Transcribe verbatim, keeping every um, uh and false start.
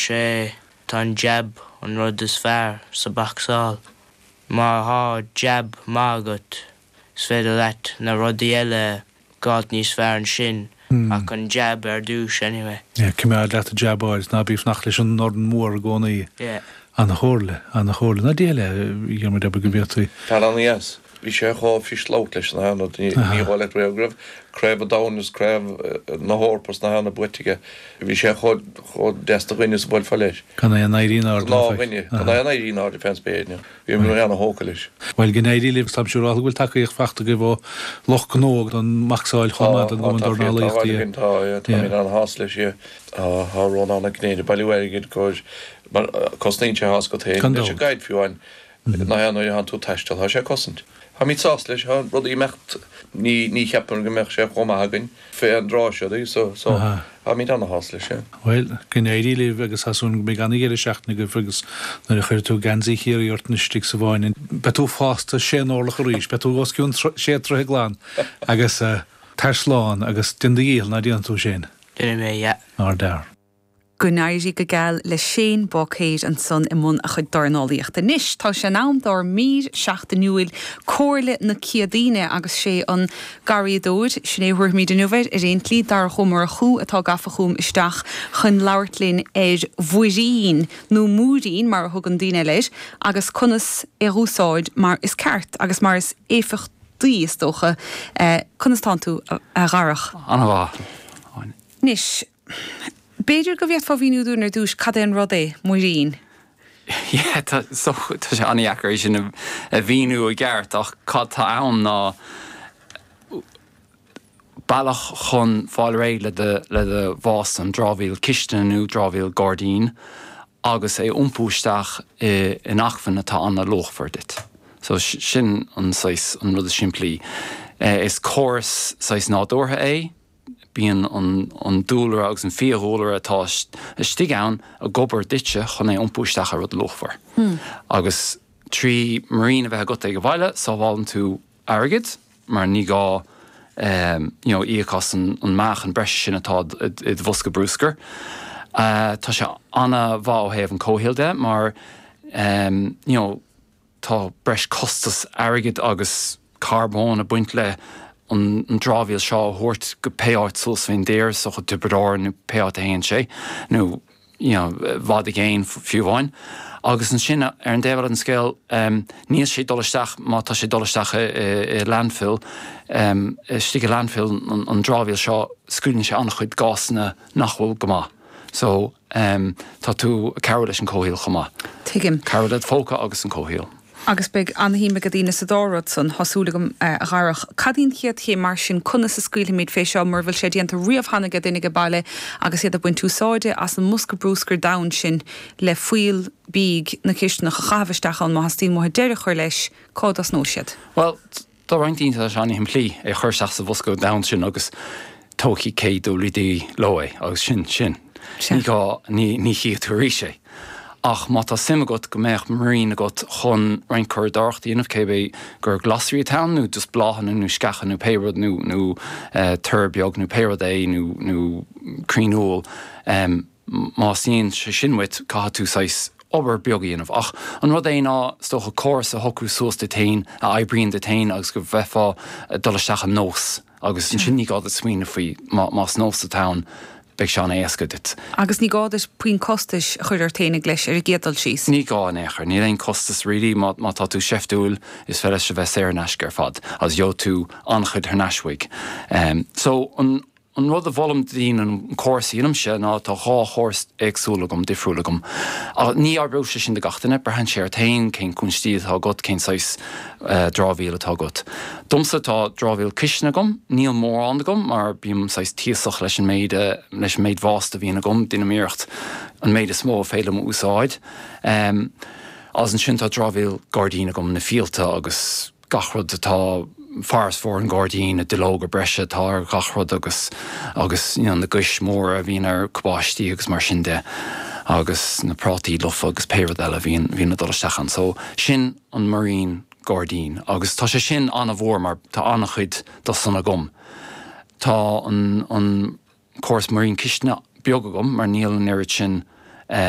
Dúirt sé tá an jab an rud is fearr sa bhocsáil. Má tá jab maith agat is féidir leat na rudaí eile gabháil níos fearr ansin ach an jab ar dtús anyway. Yeah, coimeád leat jab áid ná bí fanacht leis an dorn mór i gcónaí. Yeah. An-chomhairle, an-chomhairle. Ná déile mar go bhféadfaí. Fear an-dheas. Bhí sé chomh fuisce leis na hana ní le raibh craobh an domhain is craobh na hEorpa na hana buaite aige. Bhí sé chomh deas do dhuine sa bhfuil fá leis. Gan é an éirí ná dhuine gan é an éirí ná fén spéir. Bhí mé an-thógtha leis. Well go n-éirí libh tá siúr bhfuil tacaíocht faighte agaibh ó lucht gnó don bhocsáil chomh maith don dornálaíocht. Tá tá an-shásta leis sé tá Rónán ag gnéide bailiú airgid go cosnaíonn sé has go té leis an guide fiú an ná nuair tú taisteal tá sé cosaint. Tá mé sásta leis tá rudaí imeacht ní ní cheapaim go mbeadh sé chomh maith againn fé an dtráth seo so so tá mé an-shásta leis sé. Well go n-éirí libh agus asún go mbeidh an-deireadh seachtaine agaibh agus nuair a chuir tú geansaí Chiarraí ort istigh sa bhfáinne. Beidh tú fásta sé n-orlach arís, beidh tú os cionn sé troithe glan agus tar slán agus déan do dhícheall ná déan tú sin. Déanfaidh mé yeah. Ardfhear. Go n-éirí go geal le Shane Báicéid ansan i mbun a chuid dornálaíochta. Anois tá sé in am dár mír seachtainiúil Comhairle na Céadaoine agus sé an garraíodóir sin é thuairmíd inniu ar aon tslí Darach Ó Murchú atá gafa chugam isteach chun labhairt linn ar mhuirín nó múirín mar a thugann daoine eile air agus conas é a úsáid mar is ceart agus mar is éifeachtaí is dócha conas tánn tú a Dharach. An-mhaith. Anois, B'fhéidir go bhféadfá mhíniú dúinn ar dtús cad é an rud é muirín. Yeah, tá so tá sé an-deacair é sin a mhíniú i gceart ach cad tá ann ná bealach chun fáil réidh le do le do bhásta an dramhaíl cistine nó dramhaíl gairdín agus é iompú isteach i in acmhainn atá an-luachmhar duit. So sin an saghas an rud is simplí. Is córas saghas nádúrtha é, bíonn an, an dúlra agus an fiadhúlra atá istigh ann ag obair duitse chun é iompú isteach ar rud luachmhar. Hmm. Agus trí muirín a bheith agat ag an bhaile, sábhálann tú airgead mar ní gá um, you know, íoc as an, an meáchan breise sin atá i do bhosca bruscair. Uh, tá sé an-mhaith ó thaobh an comhshaoil de mar um, you know, tá breis costas airgid agus carbón ag baint le an, an dramhaíl seo a thabhairt go pé áit suas faoin dtír so go Tiobraid Árann nó pé áit a théann sé nó you know, bhfad i gcéin fiú amháin. Agus ansin ar an dtaobh an scéal um, níl sé dul isteach má tá sé dul isteach i, i, i landfill um, istigh i landfill an, an dramhaíl seo scaoileann sé an-chuid gásanna nach bhfuil go maith. So um, tá tú ag cabhrú leis an comhshaol chomh maith. Tuigim. Cabhrú le phóca agus an comhshaol. Agus beidh an-shuim ag daoine sa dá rud san tá súil agam a Dharach. Cad í an chéad chéim mar sin conas a scaoilfimid fé seo mar bhfuil sé déanta riamh cheana ag duine ag baile agus iad ag baint úsáide as an mbosca bruscair donn sin le fuíoll bídh na cisteanach a chaitheamh isteach ann má theastaíonn uathu deireadh a chur leis cá dtosnóidh siad. Well, tá roinnt daoine tá sé an-shimplí é chur isteach sa bhosca donn sin agus tógfaidh KWD leo é agus sin sin. Ní gá ní ní chífidh tú arís é. Ach má tá suim agat go mbeadh muirín agat chun roinnt curadóireacht a dhéanamh cébé gur glasraí atá nó just bláthanna nó sceacha nó pé rud nó nó uh, tur beag nó pé rud é nó nó crainn úll um, má theastaíonn sé sin uait caithfidh tú saghas obair beag a dhéanamh. Ach an rud é ná is dócha córas a shocrú suas duit féin a oibríonn duit féin agus go bheifeá dul isteach an nós agus ansin ní gá duit smaoineamh faoi más nós atá ann beidh sé an-éasca duit. Agus ní gá duit puinn costais a chur ort féinig leis ar an gcéad dul síos. Ní gá in aon chor, níl aon costas really má má tá tú seiftiúil is féidir leis a bheith saor in aisce ar fad, agus gheobhaidh tú an-chuid thar n-ais uaidh. Um, so an an rud a mholaim daoine an córas a dhéanaimse ná tá dhá chóras éagsúil agam difriúil agam. Ach ní oibreoidh sé sin do gach duine, braitheann sé ort féin cén cúinsí atá agat, cén saghas uh, dramhaíl atá agat. Domsa tá dramhaíl cistine agam, níl mórán agam mar bím saghas tíosach leis an méid leis an méid bhásta a bhíonn agam, déanaim iarracht an méid is mó féidir liom a úsáid. Um, agus ansin tá dramhaíl gairdín agam na fíolta agus gach rud atá farasbarr an ghairdín na duilleoga breise atá ar gach rud agus agus you know, na gais móra a bhíonn ar cabáistí agus mar sin de agus na prátaí lofa agus pé rud eile bhíonn bhíonn ag dul isteach ann. So sin an muirín gairdín agus tá sé sin an-mhór mar tá an-chuid de san agam. Tá an, an córas muirín cistine beag agam mar níl an oiread sin